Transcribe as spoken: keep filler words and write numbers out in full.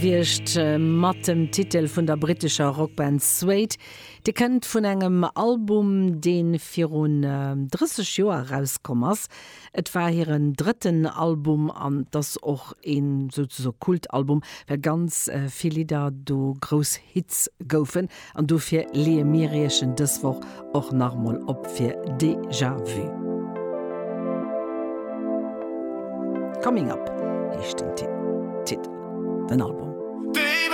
Gewiescht mat dem Titel vun der brittescher Rockband Suede. Dee kënnt vun engem Album, dee virun drësseg Joer erauskomm ass. Et war hiren drëtten Album an et ass och een souzesoe Kultalbum, well ganz vill Lidder do grouss Hits goufen. An dofir leeë mir iech en dës Woch och nach emol op fir Déjà Vu. Coming Up heescht den Titel, den Album.